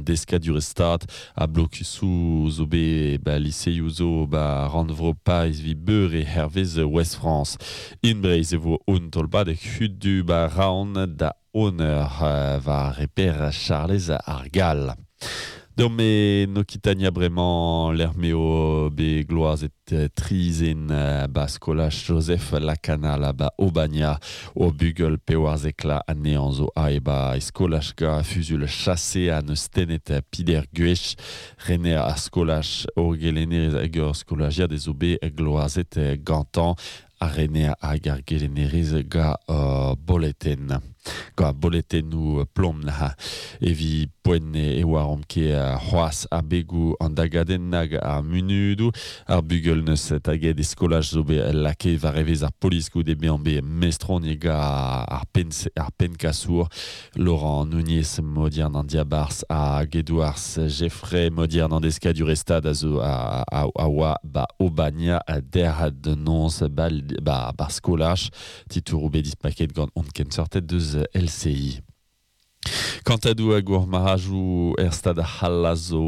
deskadurezh Stad ha blokusoù zo bet ba liseioù zo ba rannvro Pariz 'vit beure hervez Ouest-France. In Breizh e vo un tolpadeg hudu ba Raon da Honor war reper Charlez ar Gall. Deomp en Okitania bremañ lec'h m'eo bet gloazet tri zen ba skolaj Joseph Lacanal ba Aubagna. O bugel pewarzekla anezhañ zo aet ba e skolaj ga fuzul chase ha neus tennet pider gwech. Rener ar skolaj o gelennerez hag ur skolajiad ez zo bet gloazet gantañ. Ar rener hag ar gelennerez ga boletenn. Ga boletennoù plom neuze. Evit poent e oaromp ket c'hoazh abegoù an dagadenn nag ar munudoù. Ar bugel neus taget e skolaj zo bet lakaet war evezh ar polis goude bezañ bet mestroniet ga ar penn ar pennkasour Laurent Nunez Modiern an diabarzh hag Edouarzh Jeffrey Modiern an deskadurezh Stad a zo a, a, a oa ba Aubagna derc'h da noz ba, ba, bar skolaj. Titouroù bet dispaket gant hon kenseurted deus LCI. Kantadoù a gourmarajoù er stad c'hall a zo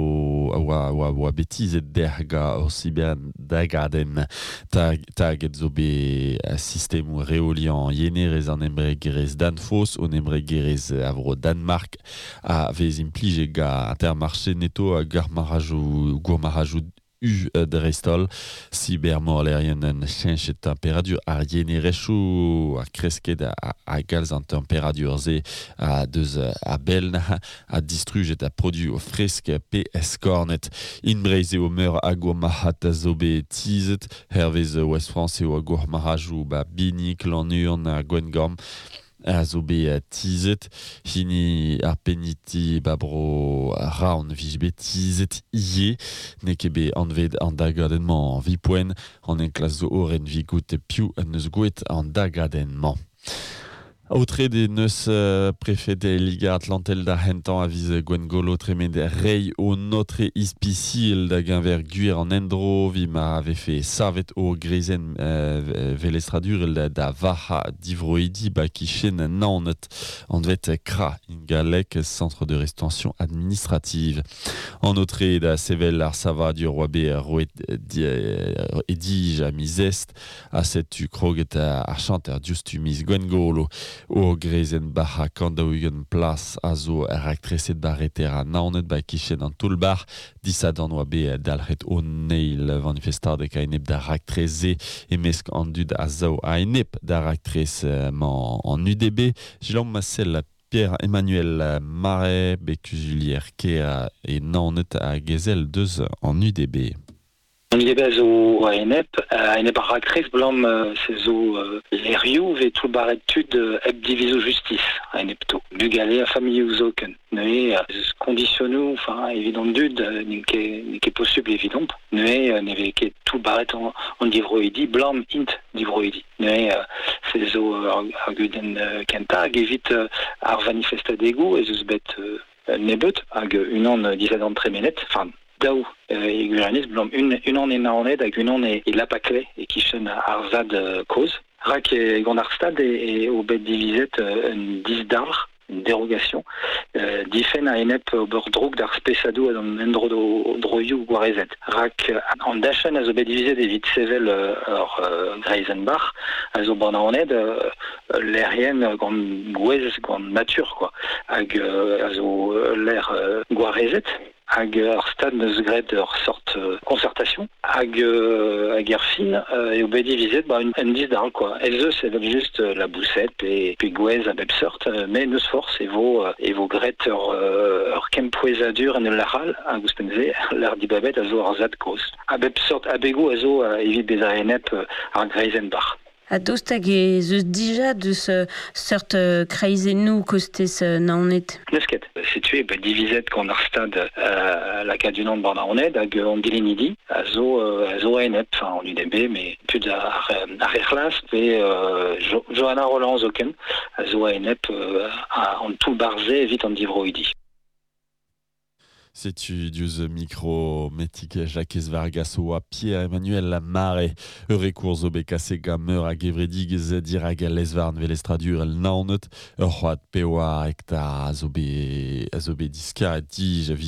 a oa, oa, oa bet tizhet dec'h gant ur siberdagadenn. Tag, taget zo bet sistemoù reoliañ yenerezh an embregerezh Danfoss, un embregerezh a vro Danmark a vez implijet gant Intermarché Netto hag ar marajoù gourmarajoù U dreist-holl. Sibermorlerien en cheñchet temperadur ar yenerezhioù ha kresket a galz an temperadur-se a deus a-bell ha distrujet ha produoù fresk pe skornet. In Breizh eo meur a gourmarc'had a zo bet tizhet. Hervez Ouest-France eo gourmarc'hajoù ba Binig, Lannuon ha Gwengamp a zo bet tizhet. Hini ar peniti ba bro Raon 'vije bet tizhet ivez. N'eo ket bet anvet an dagadenn-mañ evit poent. An enklask zo orin 'vit goût piv en deus gouet an dagadenn-mañ. Aotret en deus prefed Liga Atlantel da c'hentañ a viz Gwengolo tremen reiñ o notre ispisial da geñver gwir an endro evit ma vefe savet o greizenn velestradurel da vac'hañ divroidi ba kichen Naoned, anvet CRA in galleg, Centre de Rétention Administrative. An aotre da sevel ar savadur oa bet roet e dij ha miz Est Ha setu kroget ar chanter diouzhtu miz Gwengolo. Ur greizenn bac'hañ 140 plas a zo raktreset 'ba reter ha Naoned 'ba kichen an toull-bac'h. Disadorn 'oa bet dalc'het an eil vanifestadeg a-enep d'ar raktres-se e-mesk an dud a sav a-enep d'ar raktres-mañ an UDB. Selaomp ma sell Pierre-Emmanuel Marais, bet kuzulier kêr e Naoned hag ezel deus an UDB. An UDB a zo a-enep, a-enep ar raktres 'blam se zo lec'hioù 'vez toullbac'het tud hep divizoù justis a-enepto, bugale ha familhoù zoken. Neuze ez eus kondisionoù enfin evit an dud n'int ket n'eo ket posubl evidomp. Neuze ne vez ket toullbac'het an divroidi 'blam int divroidi. Neuze se zo ar gudenn kentañ hag evit ar vanifestadegoù ez eus bet nebeut hag unan disadorn tremenet, enfin daou e gwirionez, blam unan e Naoned hag unan e Lapaclay e-kichen ar zad kozh. Rak gant ar stad eo bet divizet un disdalc'h, une dérogation, difenn a-enep ober droug d'ar spesadoù ha d'an endro-droioù gwarezet. Rak an dachenn a zo bet divizet evit sevel ur greizenn-bac'h a zo ba Naoned ul lec'hienn gant gwez, gant natur quoi, hag a zo ul lec'h gwarezet. Hag ar Stad 'neus graet ur sort concertation hag hag er fin eo bet divizet ba un disdal quoi. Ez eus evel-just laboused pe pe gwez a bep seurt met n'eus forzh e vo e vo graet ur ur kempouezadur en ul lec'h all hag ouzhpenn-se lec'h dibabet a zo ar zad kozh. A bep seurt abegoù a zo evit bezañ enep ar greizenn-bac'h. Ha daoust hag ez eus dija deus seurt kreizennoù kostez Naoned? N'eus ket. Setu eo bet divizet gant ar Stad lakaat unan war Naoned hag an dilennidi a zo a zo a-enep, enfin an UDB, met tud ar ar re c'hlas pe Johanna Rolland zoken a zo a-enep an toull-bac'h-se evit an divroidi. Setu diouzh mikro Metig Jakez Vargas oa Pierre-Emmanuel Marais. Ur rekour zo bet kaset gant meur a gevredigezh dirak al lez-varn velestradurel Naoned. Ur c'hoad pevar hektar a zo bet a zo bet diskaret dija.